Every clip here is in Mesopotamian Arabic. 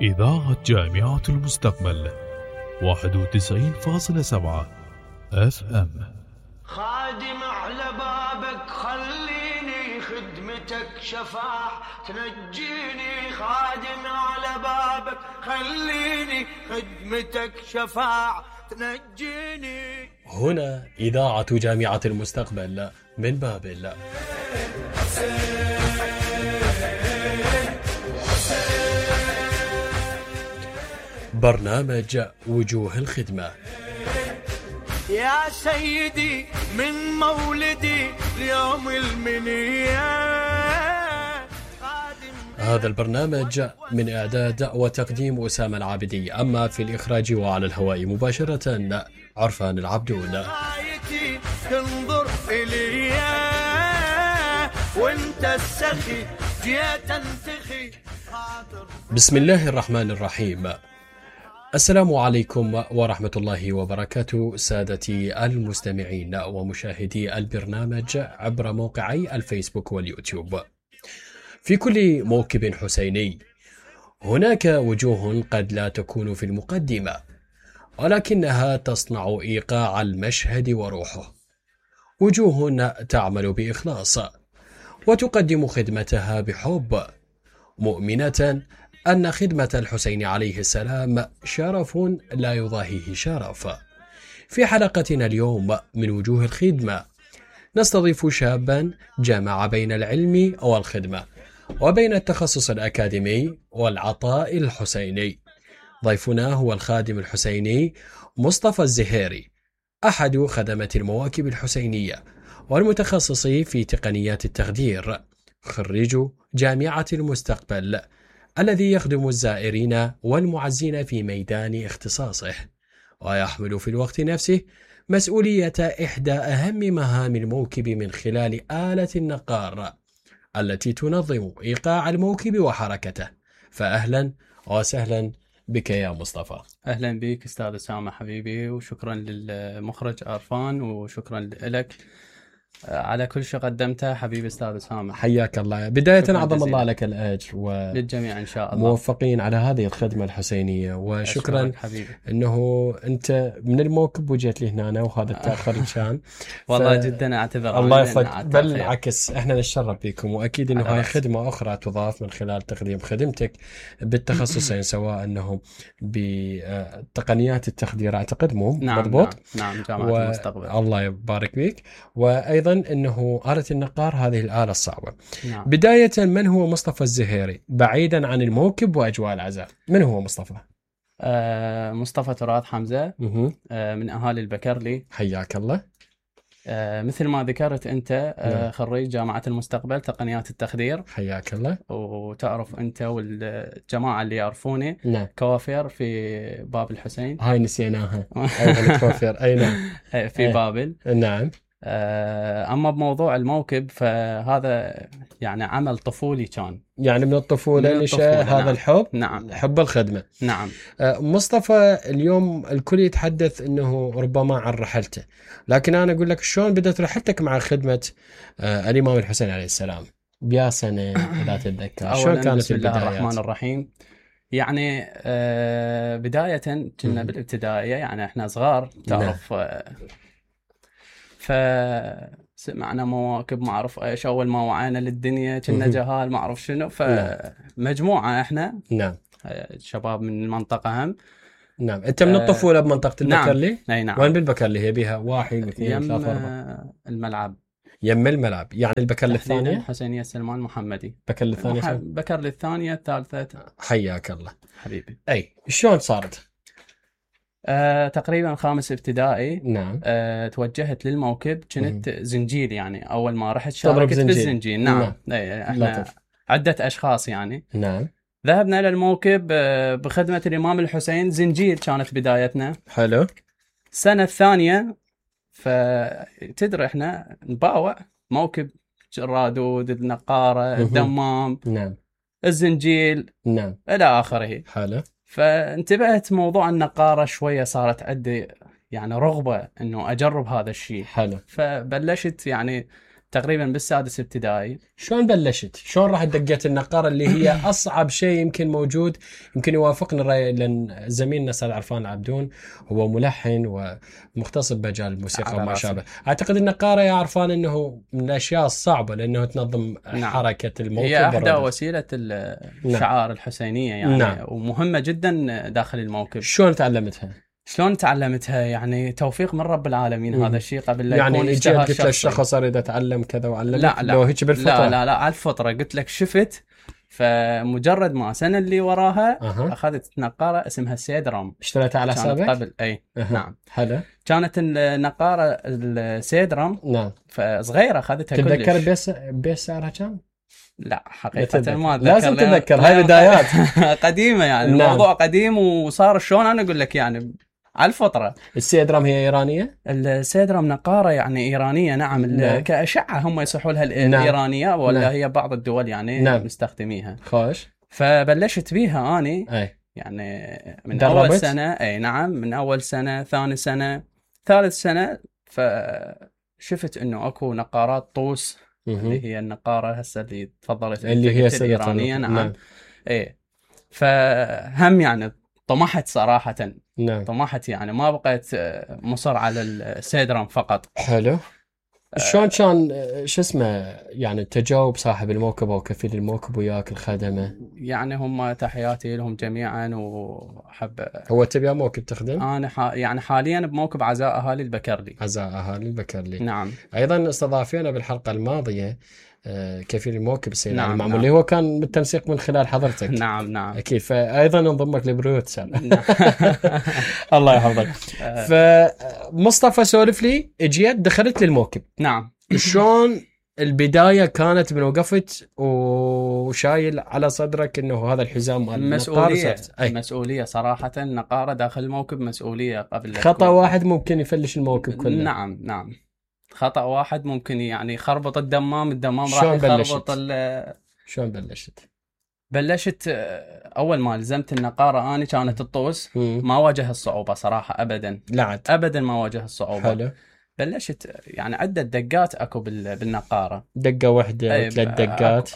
إذاعة جامعة المستقبل 91.7 FM. خادم على بابك خليني خدمتك شفاع تنجيني، خادم على بابك خليني خدمتك شفاع تنجيني. هنا إذاعة جامعة المستقبل من بابل. برنامج وجوه الخدمة. يا سيدي من مولدي اليوم المنية. هذا البرنامج من إعداد وتقديم أسامة العابدي، أما في الإخراج وعلى الهواء مباشرة عرفان العبدون. تنظر إلي وانت السخي جيت انتخي. بسم الله الرحمن الرحيم. السلام عليكم ورحمة الله وبركاته سادتي المستمعين ومشاهدي البرنامج عبر موقعي الفيسبوك واليوتيوب. في كل موكب حسيني هناك وجوه قد لا تكون في المقدمة، ولكنها تصنع إيقاع المشهد وروحه. وجوه تعمل بإخلاص وتقدم خدمتها بحب، مؤمنة أن خدمة الحسين عليه السلام شرف لا يضاهيه شرف. في حلقتنا اليوم من وجوه الخدمة نستضيف شابا جمع بين العلم والخدمة وبين التخصص الأكاديمي والعطاء الحسيني. ضيفنا هو الخادم الحسيني مصطفى الزهيري، أحد خدمة المواكب الحسينية والمتخصص في تقنيات التخدير، خريج جامعة المستقبل، الذي يخدم الزائرين والمعزين في ميدان اختصاصه، ويحمل في الوقت نفسه مسؤولية إحدى أهم مهام الموكب من خلال آلة النقار التي تنظم إيقاع الموكب وحركته. فأهلا وسهلا بك يا مصطفى. أهلا بك أستاذ أسامة حبيبي، وشكرا للمخرج عرفان، وشكرا لك على كل شيء قدمته حبيبي أستاذ أسامة. حياك الله. بداية عظم الله لك الأجر للجميع إن شاء الله، موفقين على هذه الخدمة الحسينية، وشكرا أنه أنت من الموكب وجيت لي هنا وهذا التأخر كان والله جدا أعتذر. الله يفضل، بل بالعكس احنا نتشرف بكم، وأكيد أنه هاي خدمة أخرى تضاف من خلال تقديم خدمتك بالتخصصين، سواء أنه بتقنيات التخدير أعتقد مو مضبوط. نعم جامعة المستقبل. الله يبارك بك. وأيضا أنه آلة النقار هذه الآلة الصعبة. نعم. بداية، من هو مصطفى الزهيري بعيدا عن الموكب وأجواء العزاء؟ من هو مصطفى؟ مصطفى تراث حمزة، من أهالي البكرلي. حياك الله. مثل ما ذكرت أنت، خريج جامعة المستقبل تقنيات التخدير. حياك الله. وتعرف أنت والجماعة اللي يعرفوني كوافير في باب الحسين. هاي نسيناها. أيضا كوافير. أي نعم. في بابل. نعم. أما بموضوع الموكب فهذا يعني عمل طفولي كان، يعني من الطفولة نشأ هذا. نعم. الحب. نعم. حب الخدمة. نعم. مصطفى، اليوم الكل يتحدث أنه ربما عن رحلته، لكن أنا أقول لك شلون بدأت رحلتك مع خدمة الإمام الحسين عليه السلام؟ بيا سنة إذا تتذكر شلون كانت بسم الله الرحمن الرحيم. يعني بداية كنا بالابتدائية، يعني إحنا صغار تعرف. فسمعنا مواكب ما أعرف إيش، أول ما وعينا للدنيا كنا جهال ما أعرف شنو، فمجموعة إحنا. نعم. شباب من المنطقة هم. نعم. أنت من الطفولة بمنطقة البكرلي؟ نعم. أي نعم. وين بالبكرلي هي بها؟ 1 2 3 4 الملعب. يم الملعب، يعني البكرلي الثانية؟ حسينية سلمان محمدي. بكرلي الثانية؟ بكرلي الثانية الثالثة. حياك الله حبيبي. أي شلون صارت؟ تقريبا 5 ابتدائي. نعم. توجهت للموكب، كنت زنجيل، يعني أول ما رحت شاركت بالزنجيل. نعم. احنا عدة أشخاص يعني. نعم. ذهبنا للموكب بخدمة الإمام الحسين، زنجيل كانت بدايتنا. حلو. السنة الثانية فتدري احنا نباوع موكب، الرادود، النقارة، الدمام. نعم. الزنجيل. نعم. إلى آخره. حلو. فانتبهت موضوع النقارة شوية، صارت عندي يعني رغبة انه اجرب هذا الشيء. حلو. فبلشت يعني تقريبا بالسادس ابتدائي. شلون بلشت؟ شلون راح دقيت النقارة اللي هي أصعب شيء يمكن موجود؟ يمكن يوافقني الرأي، لأن زميلنا أستاذ عرفان العبدون هو ملحن ومختص بمجال الموسيقى وما شابه. أعتقد النقارة يا عرفان أنه من الأشياء الصعبة، لأنه تنظم حركة الموكب. هي أحدى وسيلة الشعار الحسينية يعني، ومهمة جدا داخل الموكب. شلون تعلمتها؟ يعني توفيق من رب العالمين. هذا الشيء قبل لا يعني يكون اجتهاد قلت لك الشخص اريد اتعلم كذا وعلمك؟ لا لو هيك بالفطره. لا على الفطره. قلت لك شفت، فمجرد ما سنه اللي وراها اخذت نقاره اسمها السيدرام. اشتريتها على حسابك قبل؟ اي نعم. حلو. كانت النقاره السيدرام نعم فصغيره، اخذتها كلش. تتذكر بيس سعرها كم؟ لا حقيقة ما أتذكر. لازم تتذكر، هاي بدايات قديمة يعني. الموضوع قديم وصار شلون أنا أقول لك يعني على الفطرة. السيدرام هي إيرانية؟ السيدرام نقارة يعني إيرانية نعم. كأشعة هم يصحوا لها الإيرانية ولا هي بعض الدول يعني مستخدميها. خوش. فبلشت بيها أني يعني من أول سنة. أي نعم، من أول سنة، ثاني سنة، ثالث سنة. فشفت إنه أكو نقارات طوس اللي هي النقارة هسه اللي تفضلت اللي هي الإيرانية. نعم. إيه. فهم يعني طمحت صراحة. نعم. طمحت يعني، ما بقيت مصر على السيدرام فقط. حلو. شلون كان شو اسمه يعني تجاوب صاحب الموكب او كفيل الموكب وياك الخدمه؟ يعني هم تحياتي لهم جميعا، وحب. هو تبي موكب تخدم؟ انا يعني حاليا بموكب عزاء اهالي البكرلي. عزاء اهالي البكرلي. نعم. ايضا استضافينا بالحلقه الماضيه كفيل الموكب السيد نعم. المعمول، نعم. اللي هو كان بالتنسيق من خلال حضرتك. نعم اكيد. فايضا نضمك لبريوت الله يحفظك. فمصطفى سولف لي، اجيت دخلت للموكب. نعم. شلون البدايه كانت من وقفت وشايل على صدرك انه هذا الحزام مال مسؤوليه صراحه. النقاره داخل الموكب مسؤوليه. قبل خطا واحد ممكن يفلش الموكب كله. نعم. خطأ واحد ممكن يعني يخربط الدمام راح يخربط. شلون بلشت؟ بلشت أول ما لزمت النقارة أنا كانت الطوس. ما واجه الصعوبة صراحة أبدا. أبدا ما واجه الصعوبة. حلو. بلشت يعني عدة دقات أكو بالنقارة. دقة واحدة، 3 دقات.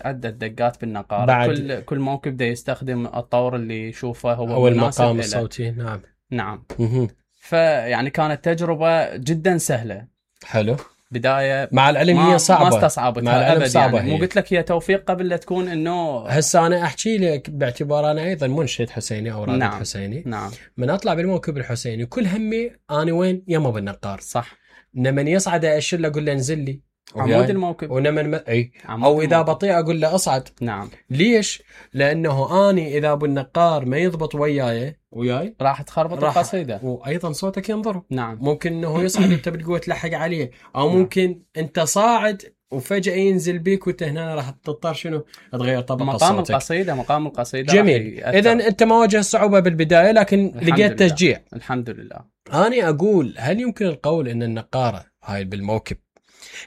عدة دقات بالنقارة. كل موكب ده يستخدم الطور اللي يشوفه هو أو المقام الصوتي. نعم. فيعني كانت تجربة جدا سهلة. حلو. بداية مع العلم هي صعبة. ما استصعبتها أبدا صعبة يعني. مو قلت لك هي توفيق قبل لا تكون إنه. هسه أنا أحكي لك باعتبار أنا أيضا منشد حسيني أو رائد حسيني. نعم. من أطلع بالموكب الحسيني كل همي أنا وين يما بالنقار. صح. لمن يصعد أشير له أقول له انزل لي عمود الموكب. ونمن أو إذا بطيء أقول له أصعد. نعم. ليش؟ لأنه أني إذا بالنقار ما يضبط وياي راح تخربط القصيدة، وأيضا صوتك ينضر. نعم. ممكن إنه يصعد أنت بالقوة تلحق عليه، أو ممكن أنت صاعد وفجأة ينزل بيك وأنت هنا راح تضطر شنو تغير طبقة صوتك. مقام القصيدة. جميل. إذا أنت ما واجه صعوبة بالبداية، لكن لقيت تشجيع. الحمد لله. أنا أقول هل يمكن القول أن النقارة هاي بالموكب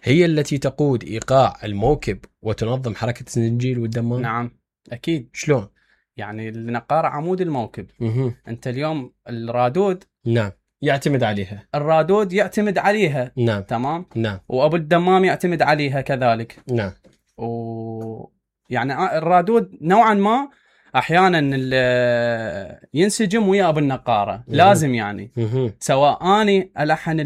هي التي تقود إيقاع الموكب وتنظم حركة الزنجيل والدمام؟ نعم أكيد. شلون؟ يعني النقارة عمود الموكب. أنت اليوم الرادود. نعم. يعتمد عليها. الرادود يعتمد عليها. نعم. تمام. نعم. وأبو الدمام يعتمد عليها كذلك. نعم. يعني الرادود نوعا ما أحيانا ينسجم ويا أبو النقارة. لازم يعني سواء أني ألحن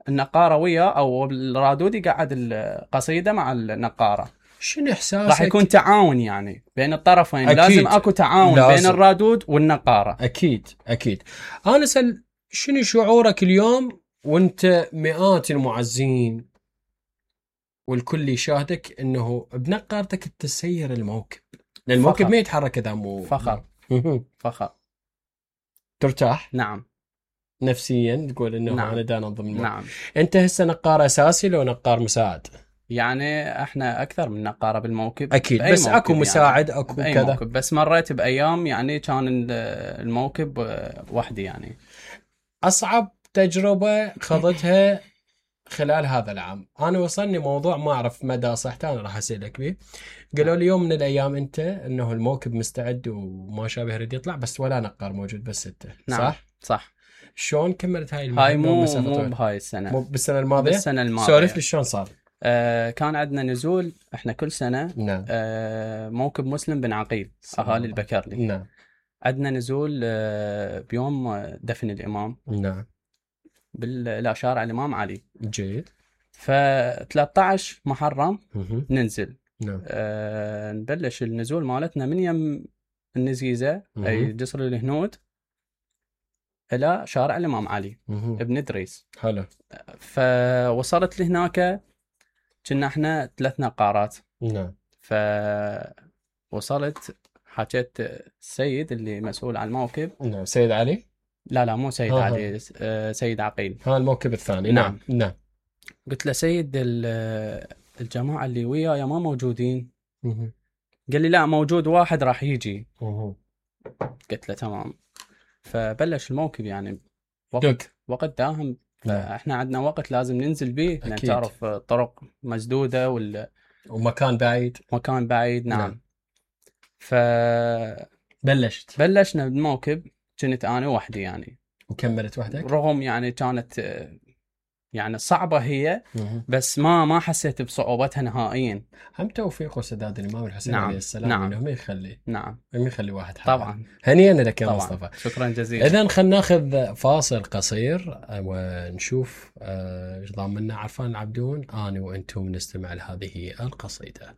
النقارة ويا أو الرادود يقعد القصيدة مع النقارة. شنو إحساسك؟ راح يكون تعاون يعني بين الطرفين. أكيد. لازم أكو تعاون بين الرادود والنقارة. أكيد. أنا أسأل شنو شعورك اليوم وانت مئات المعزين والكل يشاهدك انه بنقارتك تسير الموكب، لأن الموكب ما يتحرك اذا مو فخر. ترتاح. نعم. نفسيا تقول انه نعم. انا دا انظم الموكب. نعم. انت هسه نقار اساسي لو نقار مساعد؟ يعني احنا اكثر من نقاره بالموكب اكيد، بس اكو مساعد يعني. اكو كذا موكب. بس مريت بايام يعني كان الموكب وحدي يعني. اصعب تجربه خضتها خلال هذا العام، انا وصلني موضوع ما اعرف مدى صحته، انا راح اسالك به. قالوا لي يوم من الايام انت انه الموكب مستعد وما شابه يريد يطلع، بس ولا نقار موجود، بس انت. نعم. صح. شلون كملت هاي هاي مو بهاي السنه، مو بالسنه الماضيه. بالسنه الماضيه. سولف لي شلون صار. كان عندنا نزول احنا كل سنه. نعم. موكب مسلم بن عقيل اهالي البكرلي. نعم. عندنا نزول بيوم دفن الامام. نعم. الى شارع الامام علي. جيد. ف 13 محرم ننزل. نعم. نبلش النزول مالتنا من يم النزيزه اي جسر الهنود الى شارع الامام علي ابن ادريس. حلو. فوصلت لهناك كنا احنا 3 نقارات. نعم. فوصلت حكيت السيد اللي مسؤول عن الموكب. نعم. سيد علي. لا مو سيد علي. سيد عقيل. ها الموكب الثاني. نعم. نعم. قلت له سيد الجماعه اللي وياي ما موجودين. قال لي لا موجود واحد راح يجي. قلت له تمام. فبلش الموكب يعني وقت داهم. فاحنا عندنا وقت لازم ننزل به لان تعرف طرق مسدوده ومكان بعيد. مكان بعيد. نعم. بلشنا بالموكب. كنت انا وحدي يعني. وكملت وحدك؟ رغم يعني كانت يعني صعبة هي. بس ما حسيت بصعوبتها نهائيا. هم توفيق وسداد الإمام الحسين عليه السلام. نعم. إنه ما يخلي. نعم. ما يخلي واحد حاجة. طبعا. هنيئا لك يا مصطفى. شكرا جزيلا. إذن خلينا ناخذ فاصل قصير ونشوف ايش ضامننا عرفان العبدون. أنا وأنتم نستمع لهذه القصيدة.